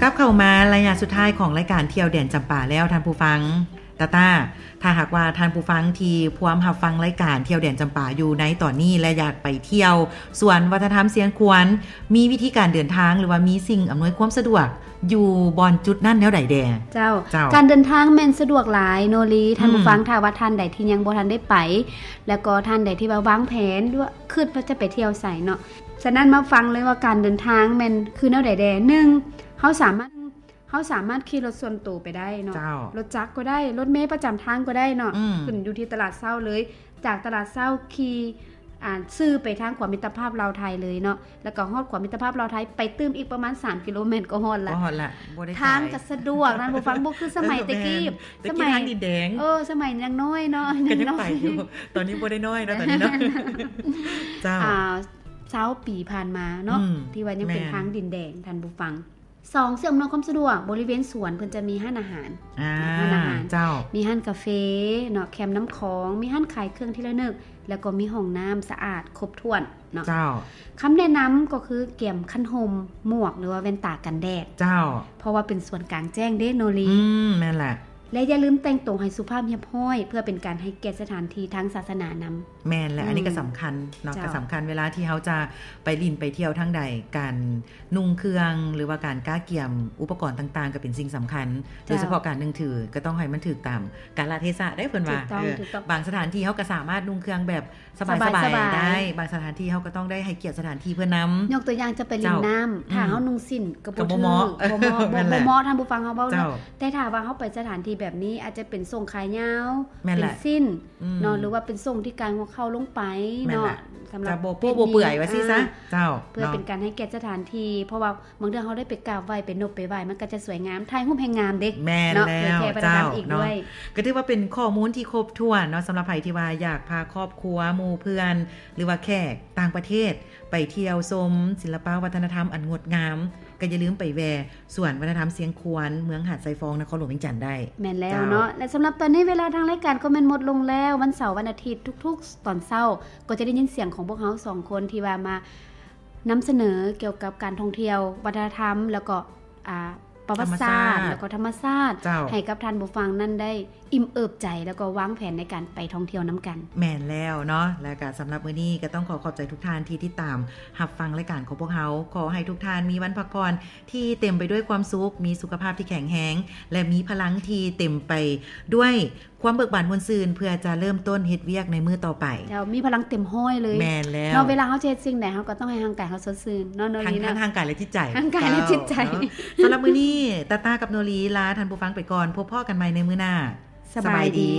ກັບເຂົ້າມາໄລຍະສຸດທ້າຍຂອງລາຍການທ່ຽວແດນຈຳປາແລ້ວທ່ານຜູ້ຟັງ. ຕາຕາ ຖ້າຫາກວ່າທ່ານຜູ້ຟັງທີ່ພວມຮັບຟັງລາຍການທ່ຽວແດນຈຳປາຢູ່ໃນຕອນນີ້ ແລະ ຢາກໄປທ່ຽວສວນວັດທະນະທຳຊຽງຂວານ ມີວິທີການເດີນທາງ ຫຼືວ່າມີສິ່ງອຳນວຍຄວາມສະດວກຢູ່ບ່ອນຈຸດນັ້ນແນວໃດແດ່? ເຈົ້າ ເຈົ້າ ການເດີນທາງແມ່ນສະດວກຫຼາຍໂນລີ ທ່ານຜູ້ຟັງ ຖ້າວ່າທ່ານໃດທີ່ຍັງບໍ່ທັນໄດ້ໄປ ແລ້ວກໍທ່ານໃດທີ່ວ່າວາງແຜນ ຫຼືວ່າຄິດວ່າຈະໄປທ່ຽວໃສເນາະ. ສະນັ້ນມາຟັງເລີຍວ່າການເດີນທາງແມ່ນຄືແນວໃດແດ່. ໜຶ່ງ ເຮົາສາມາດ ເຮົາສາມາດຂີ່ລົດສ່ວນໂຕໄປໄດ້ເນາະ ເຈົ້າ ລົດຈັກກໍໄດ້ ລົດເມປະຈຳທາງກໍໄດ້ເນາະ ອືມ ຂຶ້ນຢູ່ທີ່ຕະຫຼາດເຊົ້າເລີຍ. ຈາກຕະຫຼາດເຊົ້າຂີ່ ອ່າ ຊື່ໄປທາງຂົວມິດຕະພາບລາວໄທເລີຍເນາະ ແລ້ວກໍຮອດຂົວມິດຕະພາບລາວໄທ ໄປຕື່ມອີກປະມານສາມກິໂລແມັດກໍຮອດລະ ກໍຮອດລະ ບໍ່ໄດ້ ທາງກໍສະດວກ ທ່ານຜູ້ຟັງ ບໍ່ຄືສະໄໝແຕ່ກີ້ ເອີ ແມ່ນ ສະໄໝ ຕະກີ້ທາງດິນແດງ ເອີ ສະໄໝຍັງນ້ອຍເນາະ ກໍຍັງໄປຢູ່ ຕອນນີ້ບໍ່ໄດ້ນ້ອຍເນາະ ຕອນນີ້ເນາະ ເຈົ້າ ອ່າ ຊາວປີຜ່ານມາເນາະ ອືມ ທີ່ວ່າຍັງເປັນ ແມ່ນ ທາງດິນແດງ ທ່ານຜູ້ຟັງ. ສອງ ເຊື່ອມອຳນວຍຄວາມສະດວກ ບໍລິເວນສວນເພິ່ນຈະມີຮ້ານອາຫານ ອ່າ ຮ້ານອາຫານ ເຈົ້າ ມີຮ້ານກາເຟເນາະ ແຄມນ້ຳຂອງ ມີຮ້ານຂາຍເຄື່ອງທີ່ລະນຶກ ແລ້ວກໍມີຫ້ອງນ້ຳສະອາດຄົບຖ້ວນເນາະ ເຈົ້າ. ຄຳແນະນຳກໍຄືກຽມຄັນຮົ່ມ ໝວກ ຫຼືວ່າແວ່ນຕາກັນແດດ ເຈົ້າ ເພາະວ່າເປັນສວນກາງແຈ້ງເດ້ໂນລີ ອືມ ແມ່ນແຫຼະ ແລະ ຢ່າລືມແຕ່ງຕົວໃຫ້ສຸພາບຮຽບຮ້ອຍ ເພື່ອເປັນການໃຫ້ກຽດສະຖານທີ່ທາງສາສະໜານຳ. ແມ່ນແຫຼະ ອືມ ອັນນີ້ກໍສຳຄັນເນາະ ເຈົ້າ ກໍສຳຄັນເວລາທີ່ເຮົາຈະໄປຫຼິ້ນໄປທ່ຽວທາງໃດ ການນຸ່ງເຄື່ອງ ຫຼືວ່າການກະກຽມອຸປະກອນຕ່າງໆ ກໍເປັນສິ່ງສຳຄັນ ເຈົ້າ ໂດຍສະເພາະການໜຶ່ງຖື ກໍຕ້ອງໃຫ້ມັນຖືກຕາມກາລະເທສະເດ້ ເພິ່ນວ່າ ຖືກຕ້ອງ ເອີ ຖືກຕ້ອງ ບາງສະຖານທີ່ເຮົາກໍສາມາດນຸ່ງເຄື່ອງແບບສະບາຍໆ ສະບາຍໆ ໄດ້ ບາງສະຖານທີ່ເຮົາກໍຕ້ອງໄດ້ໃຫ້ກຽດສະຖານທີ່ເພິ່ນນຳ ຍົກຕົວຢ່າງຈະໄປຫຼິ້ນນ້ຳ ເຈົ້າ ຖ້າເຮົານຸ່ງສິ້ນ ອືມ ກໍບໍ່ຖືກ ກໍບໍ່ເໝາະ ບໍ່ເໝາະ ເອີ ບໍ່ ແມ່ນແຫຼະ ບໍ່ເໝາະ ທ່ານຜູ້ຟັງເຮົາເວົ້າເນາະ ເຈົ້າ ແຕ່ຖ້າວ່າເຮົາໄປສະຖານທີ່ແບບນີ້ ອາດຈະເປັນສົ້ງຂາຍາວ ແມ່ນແຫຼະ ເປັນສິ້ນ ອືມ ເນາະ ຫຼືວ່າເປັນສົ້ງທີ່ກາຍຫົວເຂົ່າລົງໄປເນາະ ແມ່ນລະ ສຳລັບ ຈະບໍ່ໂປ້ບໍ່ເປື່ອຍວ່າຊີ້ຊະ ອ່າ ເຈົ້າ ເພື່ອເນາະ ເປັນການໃຫ້ກຽດສະຖານທີ່ ເພາະວ່າບາງເທື່ອເຮົາໄດ້ໄປກາບໄຫວ້ ໄປນົບໄປໄຫວ້ ມັນກໍຈະສວຍງາມ ຖ່າຍຮູບແຮ່ງງາມເດ້ ແມ່ນແລ້ວ ເນາະ ເຜີຍແຜ່ວັດທະນຳອີກດ້ວຍ ເຈົ້າ ເນາະ ກໍຖືວ່າເປັນຂໍ້ມູນທີ່ຄົບຖ້ວນເນາະ ສຳລັບໃຜທີ່ວ່າຢາກພາຄອບຄົວ ໝູ່ເພື່ອນ ຫຼືວ່າແຂກຕ່າງປະເທດ ໄປທ່ຽວຊົມສິລະປະວັດທະນະທຳອັນງົດງາມ ກໍຢ່າລືມໄປແວ່ ສວນວັດທະນະທຳຊຽງຂວານ ເມືອງຫາດຊາຍຟອງ ນະຄອນຫຼວງວຽງຈັນໄດ້ ແມ່ນແລ້ວເນາະ ເຈົ້າ ແລະ ສຳລັບຕອນນີ້ເວລາທາງລາຍການກໍແມ່ນໝົດລົງແລ້ວ ວັນເສົາວັນອາທິດທຸກໆຕອນເຊົ້າ ກໍຈະໄດ້ຍິນສຽງຂອງພວກເຮົາສອງຄົນທີ່ວ່າມານຳສະເໜີກ່ຽວກັບການທ່ອງທ່ຽວ ວັດທະນະທຳ ແລ້ວກໍ ອ່າ ປະຫວັດສາດ ທຳມະຊາດ ແລ້ວກໍທຳມະຊາດ ເຈົ້າ ໃຫ້ກັບທ່ານຜູ້ຟັງນັ້ນໄດ້ ອີ່ມເອີບໃຈ ແລ້ວກໍວາງແຜນໃນການໄປທ່ອງທ່ຽວນຳກັນ. ແມ່ນແລ້ວເນາະ ແລະກະສຳລັບມື້ນີ້ກໍຕ້ອງຂໍຂອບໃຈທຸກທ່ານທີ່ຕິດຕາມຮັບຟັງລາຍການຂອງພວກເຮົາ. ຂໍໃຫ້ທຸກທ່ານມີວັນພັກຜ່ອນທີ່ເຕັມໄປດ້ວຍຄວາມສຸກ, ມີສຸຂະພາບທີ່ແຂງແຮງ ແລະ ມີພະລັງທີ່ເຕັມໄປດ້ວຍຄວາມເບີກບານມ່ວນຊື່ນ ເພື່ອຈະເລີ່ມຕົ້ນເຮັດວຽກໃນມື້ຕໍ່ໄປ. ເຈົ້າ ມີພະລັງເຕັມຮ້ອຍເລີຍ. ແມ່ນແລ້ວ. ເນາະ ເວລາເຮົາຈະເຮັດສິ່ງໃດ ເຮົາກໍຕ້ອງໃຫ້ຮ່າງກາຍເຮົາສົດຊື່ນເນາະ ໂນລີເນາະ. ທັງທາງຮ່າງກາຍ ແລະ ຈິດໃຈ. ຮ່າງກາຍ ແລະ ຈິດໃຈ. ເຈົ້າ ເນາະ. ສຳລັບມື້ນີ້ ຕາຕາກັບໂນລີ ລາທ່ານຜູ້ຟັງໄປກ່ອນ. ພົບພໍ້ກັນໃໝ່ໃນມື້ໜ້າ. ສະບາຍດີ.